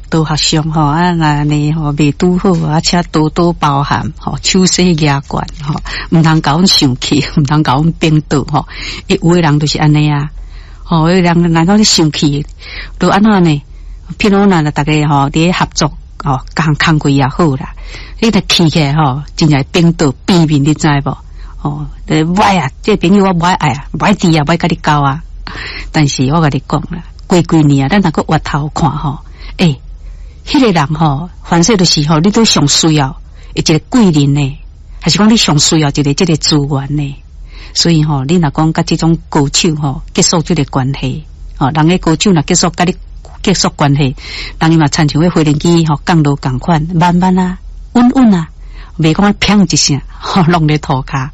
道學上吼啊，若呢吼袂拄好，啊，請多多包涵吼，手勢舉懸吼，毋通共阮生氣，毋通共阮反桌吼。欸，有的人就是按呢啊，吼，有的人若講你生氣，就按怎呢？譬如若逐家吼佇咧合作吼，共工課也好啦，你若氣起來吼，真正會反桌變面，你知無？吼，無愛啊，這個朋友我無愛啊，無愛佇啊，無愛佮你交啊。但是我共你講啦，過幾年啊，咱若閣回頭看吼，欸，彼個人吼，凡勢就是吼，你都上需要一個貴人呢，還是講你上需要一個這個資源呢？所以吼，你若講佮這種高手吼結束這個關係，吼，人的高手若結束佮你結束關係，人伊嘛親像彼飛輪機吼降落仝款，慢慢啊，穩穩啊，袂講砰一聲，吼，攏咧塗跤，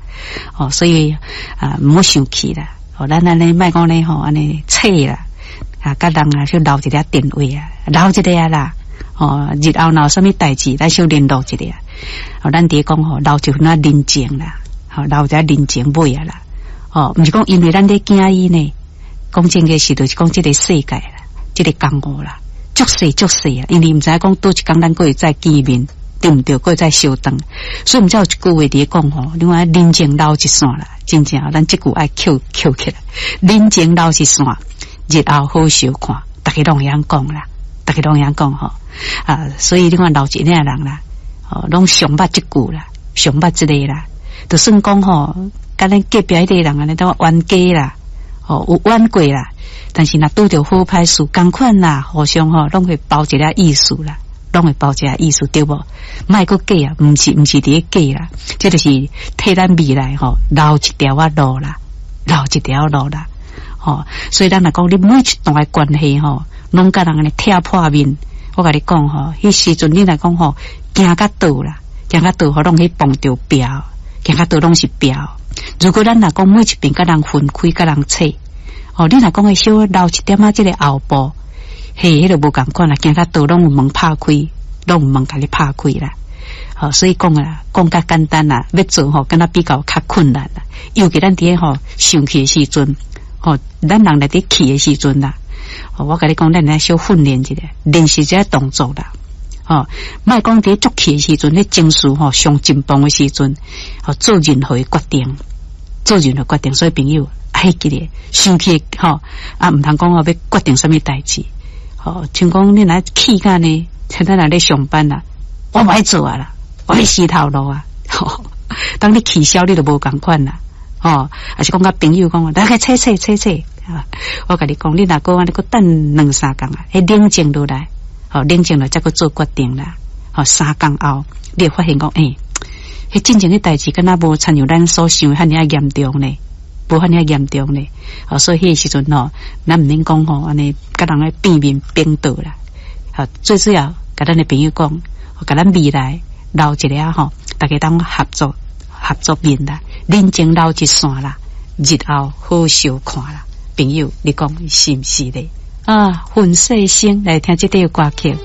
吼，所以啊，毋好生氣啦，吼，咱按呢莫講咧吼，按呢扯啦，啊，佮人啊，去留一下電話啊，留一下啦，吼，日後若有啥物代誌，咱小聯絡一下。吼，咱佇咧講吼，留一份仔人情啦，吼，留一下人情尾啊啦，吼，毋是講因為咱咧驚伊呢，講真个是就是講這個世界啦，這個江湖啦，足細足細啊，因為毋知影講佗一工咱閣會再見面，對毋對？閣會再相當，所以毋知有一句話佇咧講吼，你看人情留一線啦，真正咱這句愛抾抾起來，人情留一線，日後好相看，逐家攏會曉講啦，逐家攏會曉講吼啊，所以你看留一領人啦，吼，攏上捌這句啦，上捌這個啦，就算講吼，佮咱隔壁彼個人按呢都冤家啦，吼，有冤過啦，但是若拄著好歹事仝款啦，互相吼攏會包一下意思啦，攏會包一下意思對無？莫閣假啊，毋是毋是佇咧假啦，這就是替咱未來吼留一條仔路啦，留一條路啦，吼，所以咱若講你每一段的關係吼，攏共人按呢拆破面，我共你講吼，彼時陣你若講吼，行較倒啦，行較倒吼，攏去碰著壁，行較倒攏是壁。如果咱若講每一遍共人分開，共人扯，吼，你若講會小留一點仔這個後步，嘿，彼個無仝款啦，行較倒攏有門拍開，攏有門共你拍開啦。吼，所以講啊，講較簡單啦，欲做吼，敢若比較較困難啦。尤其咱佇咧吼生氣的時陣，吼，咱人來佇氣的時陣啦，吼，我共你講，咱來小訓練一下，練習這個動作啦。吼，莫講佇足氣的時陣，彼情緒吼上緊繃的時陣，吼做任何的決定，做任何決定。所以朋友，愛記得生氣吼啊，毋通講吼欲決定啥物代誌。吼，像講你若氣甲呢，像咱若咧上班啦，我無愛做啊啦，我欲死頭路啊。當你氣消，你就無仝款啦。吼，抑是講佮朋友講，來去扯扯扯扯。我共你講，你若閣按呢閣等兩三工啊，彼冷靜落來。吼，冷靜了，才閣做決定啦。吼，3工後，你會發現講，欸，彼進前的代誌，敢若無親像咱所想的遐爾仔嚴重呢，無遐爾仔嚴重呢。吼，所以彼個時陣吼，咱毋免講吼，按呢共人咧變面反桌啦。吼，最主要，共咱的朋友講，共咱未來留一下吼，逐家當合作合作面啦，人情留一線啦，日後好相看啦。朋友，你講是毋是咧？啊，粉細聲來聽這塊歌曲。